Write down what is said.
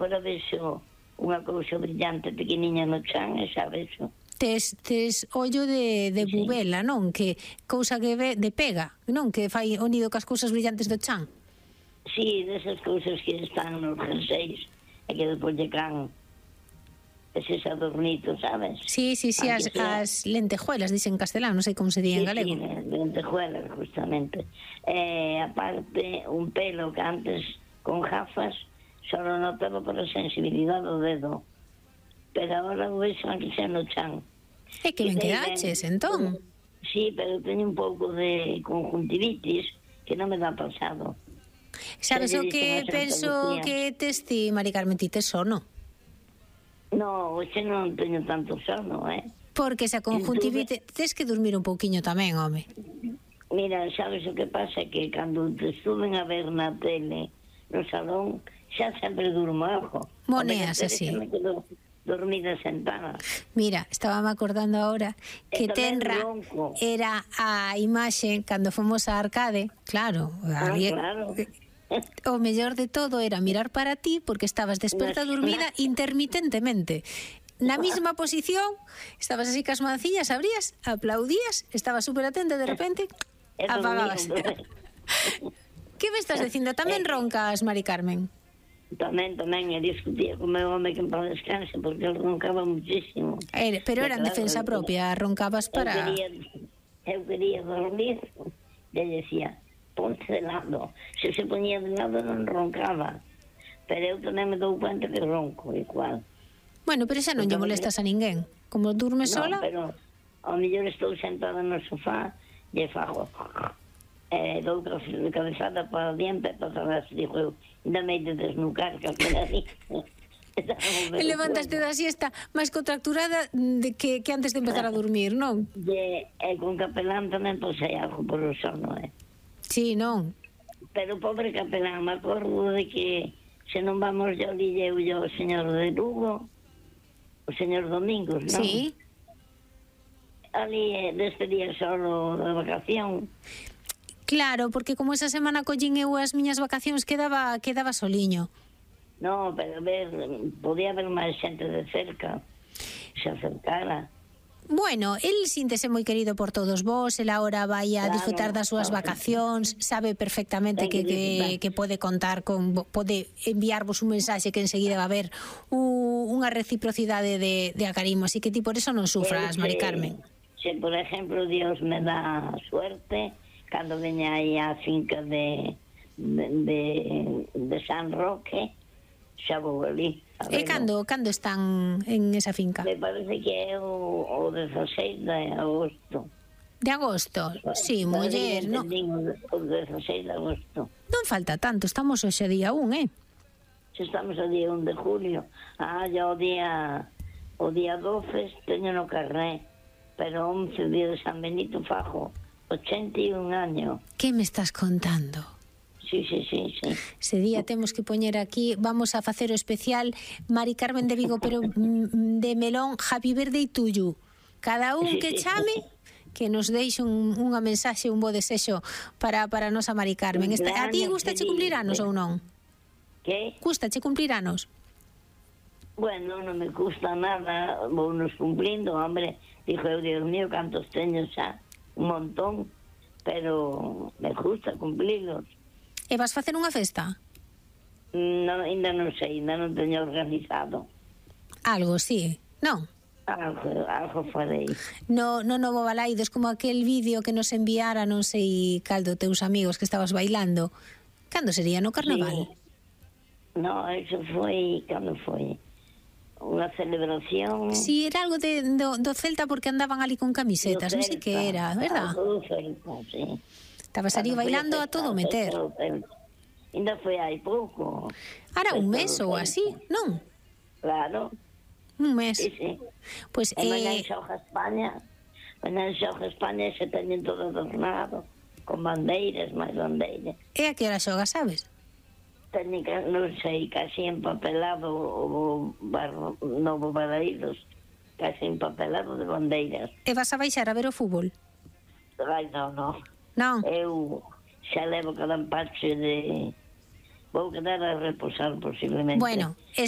Fora vexo unha cousa brillante pequeniña no chan e xa vexo. Tes ollo de bubela, non? Que cousa que ve de pega, non? Que fai o nido cas cousas brillantes do chan. Sí, desas cousas que están nos jerseis e que depois lle can eses adornitos, sabes? Sí, as lentejuelas, dicen en castelán, non sei como se di en galego. Sí, lentejuelas, justamente. Aparte, un pelo que antes con gafas só lo notaba por a sensibilidade do dedo, pero agora o vexo aquí xa no chan. É que ben quedaches, entón. Sí, pero teño un pouco de conjuntivitis que non me dá pasado. Sabes o que penso que tes ti, Mari Carmen, ti tes sono? No, hoxe non teño tanto sono, Porque esa conjuntivitis tes que dormir un pouquiño tamén, home. Mira, sabes o que pasa? Que cando te estuven a ver na tele no salón, xa sempre durmo algo. Moneas así. Dormida sentada. Mira, estábame acordando ahora que tenra era a imaxe cando fomos a Arcade, claro, claro. O mellor de todo era mirar para ti porque estabas desperta dormida intermitentemente. Na mesma posición, estabas así cas mancillas, abrías, aplaudías, estabas super atenta de repente, apagabas. Que me estás dicindo? Tamén roncas, Mari Carmen? Tamén, e discutía con o meu home que en paz descanse, porque ele roncaba muchísimo. Pero era en defensa propia, roncabas para... Eu quería dormir, e decía, ponte de lado. Se ponía de lado non roncaba, pero eu tamén me dou cuenta que ronco igual. Bueno, pero xa non lle molestas a ninguén. Como durmes sola... Non, pero ao mellor estou sentada no sofá e fago... dou cabezada para diante para atrás, digo eu, ainda me hai de desnucar que aquela así. E levantaste da siesta máis contracturada que antes de empezar a dormir, non? E con capelán tamén posei algo por o sono, Sí, non? Pero pobre capelán, me acordo de que se non vamos yo lille eu o señor de Lugo, o señor Domingos, non? Sí. Ali deste día solo de vacación. Claro, porque como esa semana collín eu as miñas vacacións quedaba soliño. No, pero podía haber máis xente de cerca, se acercara. Bueno, el síntese moi querido por todos vós, el agora vai a disfrutar das súas vacacións, sabe perfectamente que pode contar con, pode enviarvos un mensaxe que enseguida va a haber unha reciprocidade de acarimo, así que ti por eso non sufras, Mari Carmen. Se, por exemplo, Dios me dá suerte, cando veña aí a finca de San Roque, xa vou ali. E cando están en esa finca? Me parece que é o 16 de agosto. De agosto? Sí, muller, non? O 16 de agosto. Non falta tanto, estamos hoxe día 1, Se estamos o día 1 de julio. Ya o día 12 teño no carné, pero 11 día de San Benito fajo 81 años. Que me estás contando? Sí. Ese día temos que poñer aquí, vamos a facer o especial Mari Carmen de Vigo, pero de melón, Happy Birthday to you. Cada un que chame, que nos deixe unha mensaxe, un bo desexo para a nosa Mari Carmen. A ti gustache cumplir anos ou non? Que? Gustache cumplir anos? Bueno, non me gusta nada, vou nos cumplindo, hombre. Dijo eu, Dios mío, cantos teño xa, un montón, pero me gusta cumplirlos. E vas facer unha festa? No, ainda non sei, ainda non teño organizado. Algo, sí, non? Algo farei. No Novo Balaidos, como aquel vídeo que nos enviara, non sei cal do teus amigos que estabas bailando. Cando sería? No carnaval? Sí. No, eso foi, cando foi? Unha celebración... Si, era algo do Celta porque andaban ali con camisetas, non sei que era, verdad? Do Celta, sí. Estabas ali bailando a todo meter. Ainda foi hai pouco. Ahora un mes ou así, non? Claro. Un mes. Sí. Pues, mañá xoga España. Mañá xoga España e se teñen todo adornado, con bandeiras, máis bandeiras. E a que hora xoga, sabes? Técnica, non sei, casi empapelado o Novo Balaidos, casi empapelado de bandeiras. E vas a baixar a ver o fútbol? Ai, non. Non? Eu xa levo cada empache vou quedar a reposar posiblemente. Bueno, esa